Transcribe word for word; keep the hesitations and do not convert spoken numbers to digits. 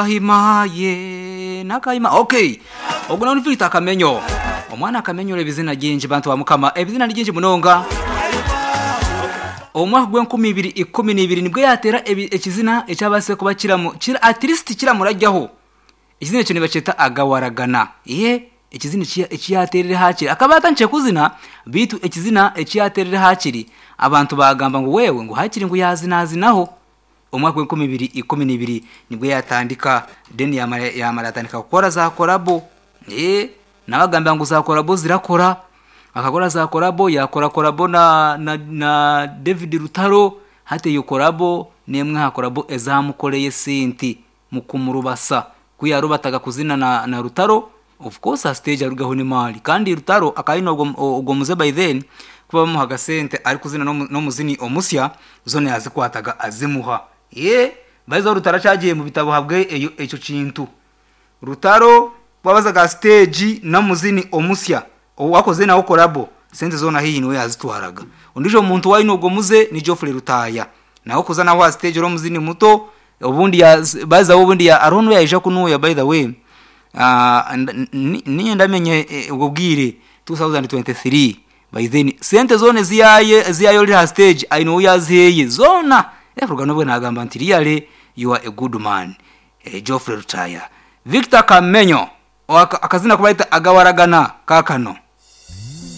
Himaye nakayima. Okay, ogwo nawe ni Akamenyo, omwana Akamenyo. Ebizina gingi, bantu ba Mukama, ebizina ni gingi munonga. Omwaka gw'enkumi ibiri ikumi n'ibiri nibwo yatera ebi- ekizina ekyabase kuba kiramu kira at least kiramurajyaho. Ekizina ekyo nibakyeta "Agawaragana". Ye ekizina eki- ekiyaterere, hakiri akaba atandikire kuzina, bitu ekizina ekiyaterere hakiri abantu bagamba ngu wewe ngu hakiri ngu yazinazinaho. Omwaka gw'enkumi ibiri ikumi n'ibiri nibwo yatandika, then yamara yamara yatandika kukora za collabo. Eh, nabagambira ngu za collabo zirakora. Akakora za collabo, yakora collabo na, na, na David Rutaro. Hati iyo collabo nemwe ha collabo ezamukoreye sente mu kumurubasa kuyarubataga kuzina na, na Rutaro. Of course a stage arugaho ni mali, kandi Rutaro akayina ogwo ogwo muze. By then kuba bamuhaga sente ari kuzina n'omu- n'omuzini omusya, zone yazikwataga azimuha. Ye baiza Rutaro acagiye mu bitabo habwe eyo ekyo kintu. Rutaro wabazaga stage n'omuzini omusya owakoze nawo collabo, sente zona hiyi niwe yazitwaraga. Ondijo muntu waine ogwo muze ni Geoffrey Rutaya, nawe kuza naho ha stage uri omuzini muto. Obundi ya baza, obundi ya arono yaija kunuya. By the way, uh, niye ndamenye eh, ubwo bwire ibihumbi bibiri na makumyabiri na gatatu. By then sente zone ziyaye ziyayo ha stage aino yaziheye zona. Efuruga nobwe nagamba nti really you are a good man, eh, Geoffrey Rutaya. Victor Kamenyo, Waka- akazina kubaita "Agawaragana" kakano.